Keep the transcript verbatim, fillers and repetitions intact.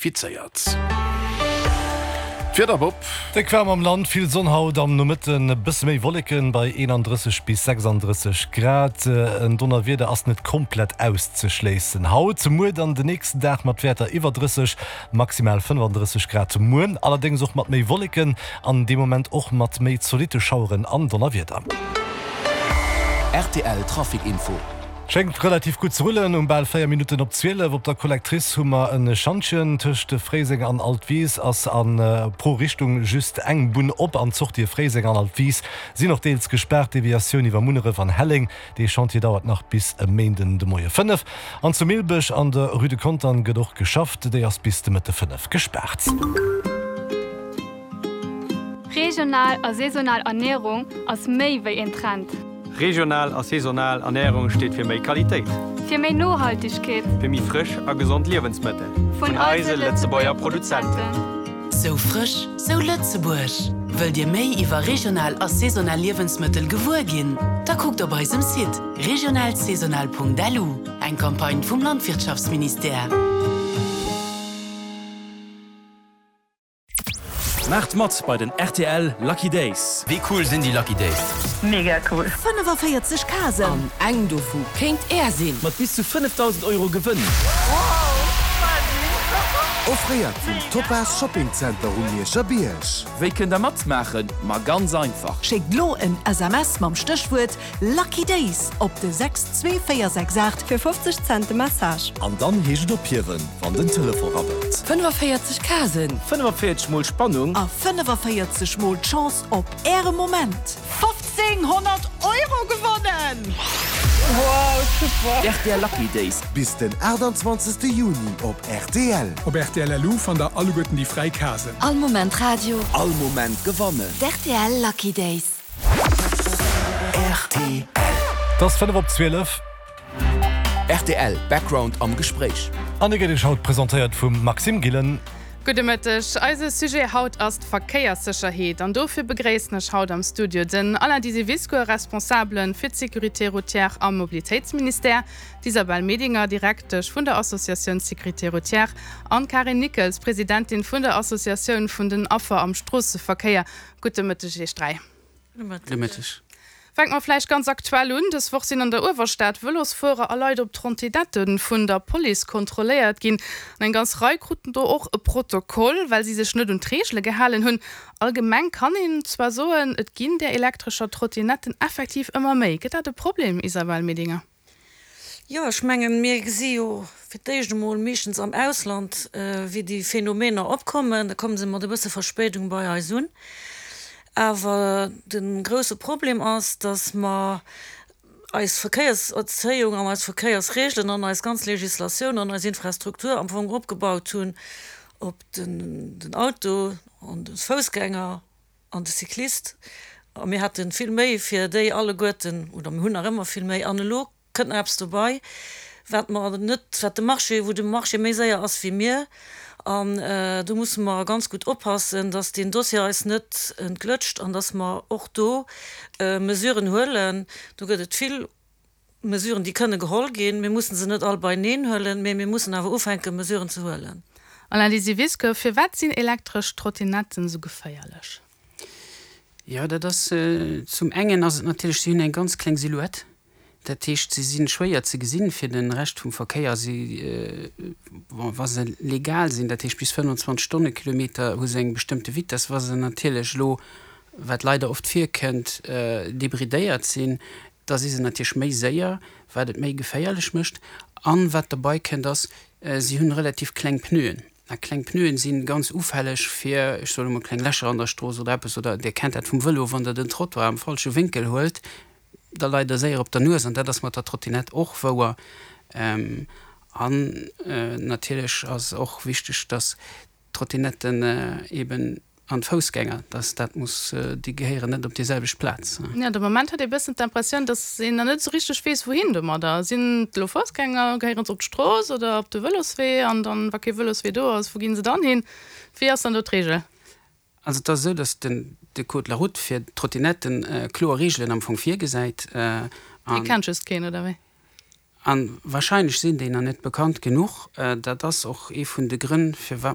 Fizéiert. D'Wieder, Bob. Déck waarm am Land, vill Sonn haut, am Nomëtten e bësse méi Wolleken bei eenandrësseg bis sechsandrësseg Grad. En Donnerwieder ass net komplett auszeschléissen haut. Muer dann den nächsten Dag mat Wäerter iwwer drësseg, maximal fënnefandrësseg Grad. Muer allerdéngs och mat méi Wolleken an dee Moment och mat méi zolitte Schaueren an Donnerwieder. Rtl Trafic Info. Schéngt relativ gutt ze rullen. Um bal véier Minutten op zwielef op der Collectrice hu mer e Schantjen. Tëscht Fréiseng an Altwis ass a pro Richtung just eng Bunn op an d'Sortië Fréiseng an Altwis sinn och deels gespaart. Deviatioun iwwer Munneref an Helleng. Dee Chantier dauert nach bis e Méinden de Moie fënnef. An zu Milbech an der Rue de Contern gëtt och geschafft, déi ass bis de Mëtte fënnef gespaart. Regional a saisonal Ernierung ass méi wéi een Trend. Regional a saisonal Ernärung steet fir méi Qualitéit. Fir méi Nohaltegkeet. Fir méi frësch a gesond Liewensmëttel. Vun eise Lëtzebuerger Produzenten. Sou frësch, sou Lëtzebuerg! Wëllt Dir méi iwwer regional a saisonal Liewensmëttel gewuer ginn? Da kuckt op eisem Site regionalsaisonal.lu. Eng Campagne vum Landwirtschaftsministère. Maacht mat bei den rtl Lucky Days! Wéi cool sinn déi Lucky Days? Mega cool! fënnefaféierzeg Casen! An eng dovu kéint Är sinn! Mat bis zu fënnefdausend Euro Gewënn! Offréiert vum Topaz Shopping Center um Mierscher Bierg. Wéi kënnt der matmaachen? Ma ganz einfach! Schéckt lo en S M S mam Stéchwuert Lucky Days op de sechs zwee véier sechs aacht fir fofzeg Cent de Message. An dann heescht et ophiewen, wann den Telefon rabbelt. fënnefaféierzeg Casen. fënnefaféierzeg mol Spannung. A fënnefaféierzeg mol d'Chance op Äre Moment. fofzénghonnert Euro gewonnen! Wow, super! Rtl Lucky Days. Bis den aachtanzwanzegste Juni op rtl. Op rtl.lu fannt der alleguerten déi fräi Casen. All Moment Radio. All Moment gewannen. D'RTL Lucky Days. Rtl. Et ass fënnef op zwielef. Rtl Background am Gespréich. An e gëtt Iech haut presentéiert vum Maxime Gillen. Gudde Mëtteg. Eise Sujet haut ass d'Verkéierssécherheet an dofir begréissen ech haut am Studio den Alain Disiviscour, Responsabele fir d'Sécurité routière am Mobilitéitsministère, d'Isabelle Medinger, Direktesch vun der Associatioun Sécurité routière an d'Karin Nickels, Presidentin vun der Associatioun vun den Affer am Stroosseverkéier. Gudde Mëtteg Iech dräi. Gudde Mëtteg. Fänke mer vläicht ganz aktuell un, Dës Woch sinn an der Uewerstad Vëlosfuerer a Leit op Trottinette vun der Police kontrolléiert ginn. An eng ganz Rei kruten do och e Protokoll, well si sech net un d'Reegele gehalen hunn. Allgemeng kann een zwar soen, et ginn där elektrescher Trottinetten effektiv ëmmer méi. Gëtt dat e Problem, Isabelle Medinger? Jo, ech mengen, mir gesi jo fir d'éischt emol meeschtens am Ausland, wéi déi Phänomener opkommen. Da komme se mat e bësse Verspéidung bei eis un. Awer de grousse Problem ass, dass mer eis Verkéierserzéiung an eis Verkéiersregelen an eis ganz Législatioun an eis Infrastruktur am Fong opgebaut hunn op den Auto an de Foussgänger an de Cyclist. A mir hate vill méi fir déi alleguerten, oder mir hunn nach ëmmer vill méi. An elo kënnt nach eppes dobei, wat mer net, wat de Marché, wou de Marché méi séier ass wéi mir. An do musse mer ganz gutt oppassen, dass deen Dossier eis net entglëtscht an dass mer och do Mesuren huelen. Do gëtt et vill Mesuren, déi kënne geholl ginn. Mir mussen se net all beineen huelen, mä mir mussen awer ufänken, Mesuren ze huelen. Alain Lisiewicz, Firwat sinn elektresch Trottinetten esou geféierlech? Jo, dat ass, zum engen ass et natierlech, si hunn eng ganz kleng Silhouette. Dat heescht, se si schwéier ze gesinn fir de Rescht vum Verkéier. Si, bon, wa se legal sinn, dat heescht bis fënnfanzwanzeg Stonnekilometer, hu se eng bestëmmte Vitess. Wa se natierlech elo, wat leider oft virkënnt, débridéiert sinn, da si se natierlech méi séier, wat et méi geféierlech mécht. An wat derbei kënnt ass, si hunn relativ kleng Pneuen. A kleng Pneuen si ganz ufälleg fir, ech soe lo mol, kleng Lächer an der Strooss oder eppes, oder Dir kennt dat vum Vëlo, wann Der den Trottoir am falsche Wénkel huelt, da leit der séier op der Nues, an dat ass mat der Trottinett och wouer. An natierlech ass och wichteg, dass d'Trottinetten eben an d'Foussgänger, dass dat muss, déi gehéieren net op déi selwecht Plaz. Jo, de Moment huet ee bëssen d'Impressioun, dass een nach net esou richteg weess, wouhin domadder. Sinn et elo Foussgänger, gehéieren se op d'Strooss oder op de Vëloswee? An dann, wa kee Vëloswee do ass, wou gi se dann hin? Wéi ass dann do d'Reegel? Also et ass esou, datt den de Code de la route fir d'Trottinetten kloer Reegelen am Fong virgesäit. Déi kennt just keen, oder wéi? An wahrscheinlech sinn déi nach net bekannt genuch. Dat ass och ee vun de Grënn, firwat